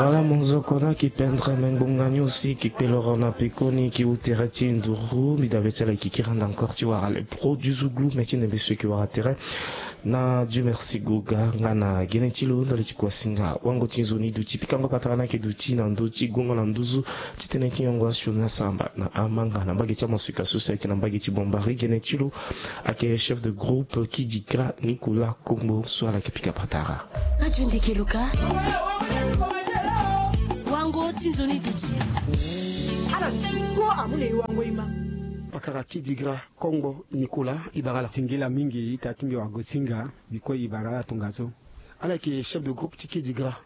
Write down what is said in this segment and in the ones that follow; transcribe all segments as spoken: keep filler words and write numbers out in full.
Ala monzoko na ki pendre me ngbonga ni aussi ki kpe loro na pekoni ki wu tere ti nduru mbi dabe ti ala ki kiri ande encore ti wara le pro du zouglu me ti nembe so ki wara tere. Na Dieu merci goga nga na gene ti lo ndali ti kuasinga wango ti nzoni duti pikango patara na yeke duti na ndö ti gongo na nduzu ti tënë ti nyongo asioni asamba na amanga na mbage ti amosika so si ayeke na mbage ti bombari gene ti lo. Ayeke chef de groupe Kidigra Nicolas Kongbo so ala yeke pika patara. Radio Ndeke Luka. Wango ti nzoni duti. Ala duti kpo amu na e wango e ma. Pakara Kidigra Kongbo Nicolas e bara ala. Singila mingi ita ti mbi wagosinga. Biko e bara ala tongaso. Ala yeke chef de groupe ti Kidigra.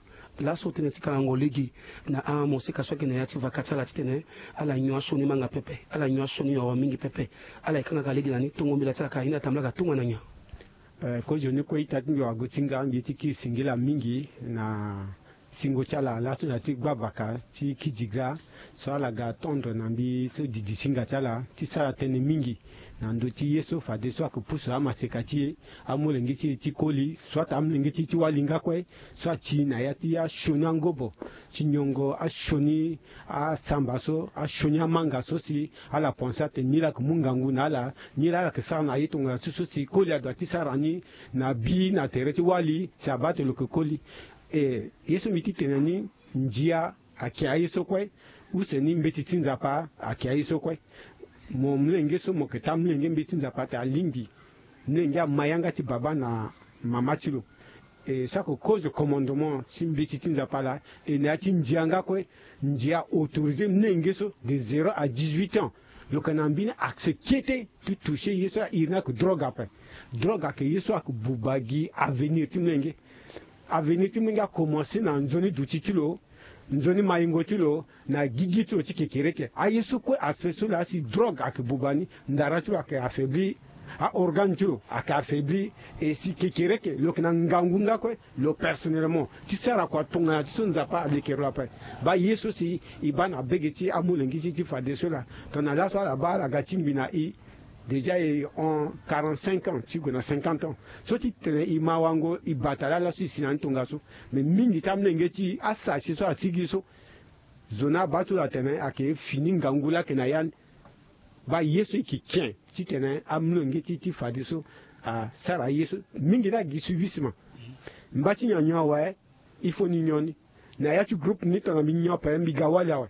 Laso tënë ti kangango lege na amoseka so ayeke na ya ti vaka ti ala titene ala nyon asioni manga pepe, ala nyon asioni nyoro mingi pepe. Ala yeke kangaka lege na ni tongo mbela ti ala ka aye ni atambula ka tongana nyen? Eh, kozoni kue ita ti mbi wagosinga mbi ye ti kiri singila mingi na singo ti ala laso na ya ti gbavaka ti Kidigra so ala ga tendre na mbi so didi singa ti ala ti sara tënë mingi na ndö ti ye so fadeso ayeke pusu amaseka ti e, amolenge ti e ti koli soit amolenge ti e ti wali nga kue so ati na ya ti asioni angobo ti nyongo asioni asamba so asioni amanga so si ala pense ate ni la yeke mu ngangu na ala ni la ala yeke sara na ye tongana ti so si koli adoit ti sara ni na bi na tere ti wali si abaa ate lo yeke koli. E ye so mbi ti tene ni ndia ayeke aye so kue. Use ni mbeti ti Nzapa ayeke aye so kue. Mo mlenge so mo yeke ti amlenge mbeti ti Nzapa ate alingbi mlenge ama yanga ti baba na mama ti lo. E so ayeke cause commandement ti mbeti ti Nzapa laa e na ya ti ndia nga kue. Ndia autoriser mlenge so de zéro à dix-huit ans lo yeke na mbeni accès kete ti toucher ye so airi ni ayeke drogue ape. Drogue ayeke ye so ayeke buba gi avenir ti mlenge. Avenir ti mlenge akomanse na nzoni duti ti lo, nzoni mayingo ti lo, na gigi ti lo ti kekereke. Aye so kue aspect so laa si drogue ayeke buba ni ndara ti lo ayeke affaibli. Aorgane ti lo ayeke affaibli. E si kekereke lo yeke na ngangu nga kue lo personnellement ti sara kua tongana ti so Nzapa alekere lo ape. Baa ye so si e baa na bege ti amolenge ti e ti fadeso laa tongana laso ala baa ala ga ti ngbi na e. Déjà e hon quarante-cinq ans ti gue na cinquante ans. So ti tene e ma wango e bata laa laso e si na ni tongaso. Mais mingi ti amolenge ti e asasi so asigi so zo ni abaa ti lo atene ayeke fini ngangu laa ayeke na ya ni. Baa ye so e yeke ken titene amolenge ti e ti fadeso asara ye so mingi laa gi suivisement. Mba ti nyon nyon awe. Il faut ni nyon ni na ya ti groupe ni tongana mbi nyon ape mbi ga wali awe.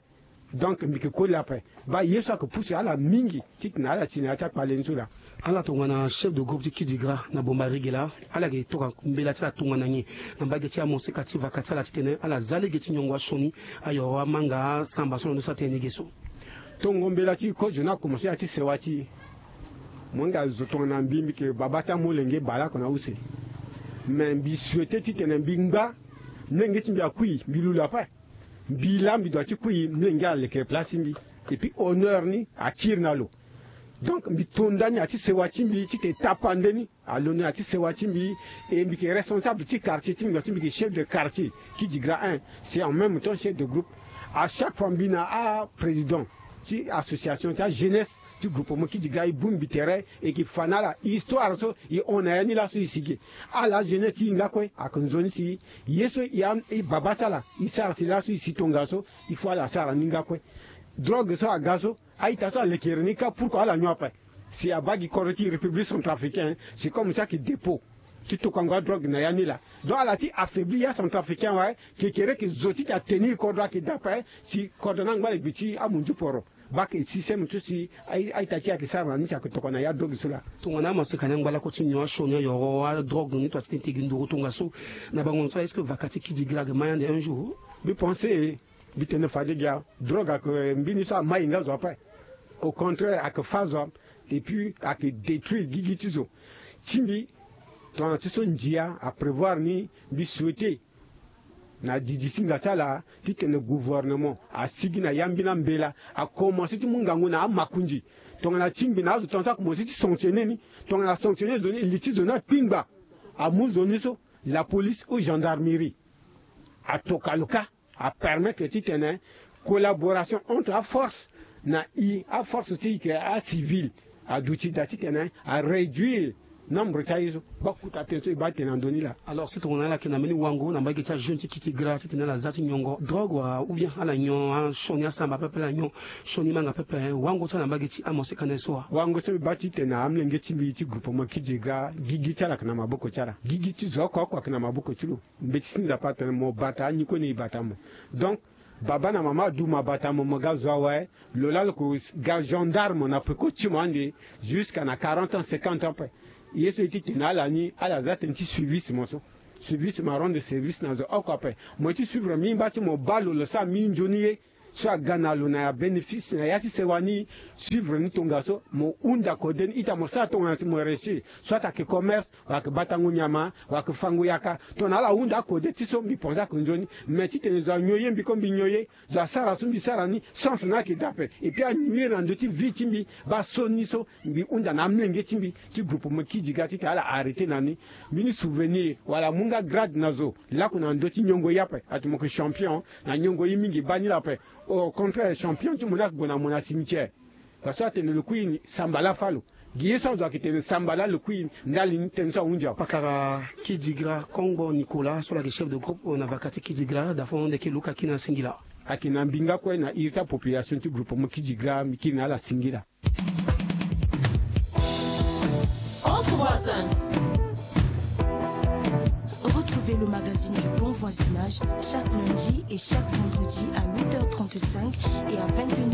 Donc mbi yeke koli ape. Baa ye so ayeke pusu ala mingi titene ala ti na ya ti akpale ni so laa. Ala tongana chef de groupe ti Kidigra na Bombarigi laa ala yeke toka mbela ti ala tongana nyen na mbage ti amoseka ti vaka ti ala titene ala za lege ti nyongo asioni ayoro amanga asamba so na ndo so atene lege so. Tongo mbela ti kozo ni akomanse ya ti sewa ti e. Mo hinga zo tongana mbi mbi yeke baba ti amolenge bale oko na use. Mais mbi souhaite titene mbi ngba mlenge ti mbi akui mbi lu lo ape. Mbi laa mbi doit ti kui mlenge alekere place ti mbi. Et puis honneur ni akiri na lo. Donc mbi to ndani ya ti sewa ti mbi titene tapande ni alo ni ya ti sewa ti mbi. Et mbi yeke responsable ti quartier ti mbi doit ti mbi yeke chef de quartier Kidigra un. C'est en même temps chef de groupe. À chaque fois mbi na aprésident ti association ti ajeunesse ti groupement Kidigra e bongbi tere e yeke fa na ala histoire so e hon na ya ni laso e sigi. Ala ajeunesse ti e nga kue ayeke nzoni si ye so e baba ti ala e sara si laso e si tongaso. Il faut ala sara ni nga kue. Drogue so aga so a-ita so alekere ni kâ pourkoi ala nyon ape. Si abaa gi kodro ti république centrafricaine c'est comme si ayeke dépôt ti tokango adrogue na ya ni laa. Donc ala ti affaibli ya centrafricain awe. Kekereke zo ti yeke atenir kodro ayeke dape si kodro ni angba na gbe ti amunzu poro. Baa ayeke système so si a-ita ti e ayeke sara na ni si ayeke tokua na ya drogue so laa. Tongana amaseka ni angba lako ti nyon asioni ayoro adrogue ni tongana ti tene gi nduru tongaso na bango na so laa est-ce que vaka ti Kidigra ayeke ma yande un jour? Mbi pense mbi tene fade gi a drogue ayeke mbeni so ama e nga zo ape. Au contraire ayeke fâ zo. Et puis ayeke détruire gigi ti zo. Ti mbi tongana ti so ndia aprévoir ni mbi souhaite na didi singa ti ala titene gouvernement asigi na ya mbeni ambela akomanse ti mu ngangu na amakonzi. Tongana ti ngbi na azo tongana ti akomanse ti sanctionner ni tongana asanctionner zo ni li ti zo ni akpingba. Amu zo ni so la police ou gendarmerie atoka lo kâ. Apermettre titene collaboration entre aforce na e aforce ti e yeke acivil aduti daa titene aréduire Nombre ti aye so, baa kota tënë so e baa tene na ndö ni laa. Alors si tongana ala yeke na mbeni wango na mbage ti ajeune ti Kidira titene ala za ti nyongo drogue wa ou bien ala nyon asioni asamba pepe ala nyon sioni manga pepe, wango ti ala na mbage ti amosika na ye so wa? Wango so mbi baa titene na amolenge ti mbi ti groupement Kidira, gigi ti ala ayeke na maboko ti ala. Gigi ti zo oko oko ayeke na maboko ti lo. Mbeti ti Nzapa atene mo bata ani kue ni e bata mo. Donc baba na mama aduma bata mo, mo ga zo awe. Lo laa lo ko ga gendarme na peko ti mo ande jusqu'à na quarante ans, cinquante ans ape. Ye so e ti tene na ala ni, ala za tënë ti suivisme so. Suivisme arendre service na zo oko ape. Mo ye ti suivre mingi baa ti mo baa lo, lo sara mingi nzoni ye so aga na lo na ya bénéfice na ya ti sewa ni. Suivre ni tongaso mo hunda kode ni ita mo sara tongana si mo réussir, soit ayeke commerce, wala ayeke batango nyama, wala ayeke fango yaka. Tongana ala hunda akode ti so mbi pense ayeke nzoni. Mais titene zo anyon ye mbi kue mbi nyon ye, zo asara so mbi sara ni, chance ni ayeke daa ape. Et puis anuire na ndö ti vie ti mbi. Baa so ni so mbi hunda na amolenge ti mbi ti groupement Kidira titene ala arrêter na ni. Mbeni souvenir wala amu nga grade na zo laku na ndö ti nyongo ye ape. Ati mo yeke champion na nyongo ye mingi baa ni laa ape. Au contraire champion ti mo ni ayeke gue na mo na cimetière. Parce que atene lo kui ni sambala fâ lo. Gi ye so azo ayeke tene sambala lo kui ni ndali ni tënë so ahunzi awe. Pakara Kidira Kongbo Nicolas so lo yeke chef de groupe na vaka ti Kidira, dafo nde ke luka kina singila. Ayeke na mbi nga kue na iri ti apopulation ti groupement Kidira mbi kiri na ala singila. Entre voisins.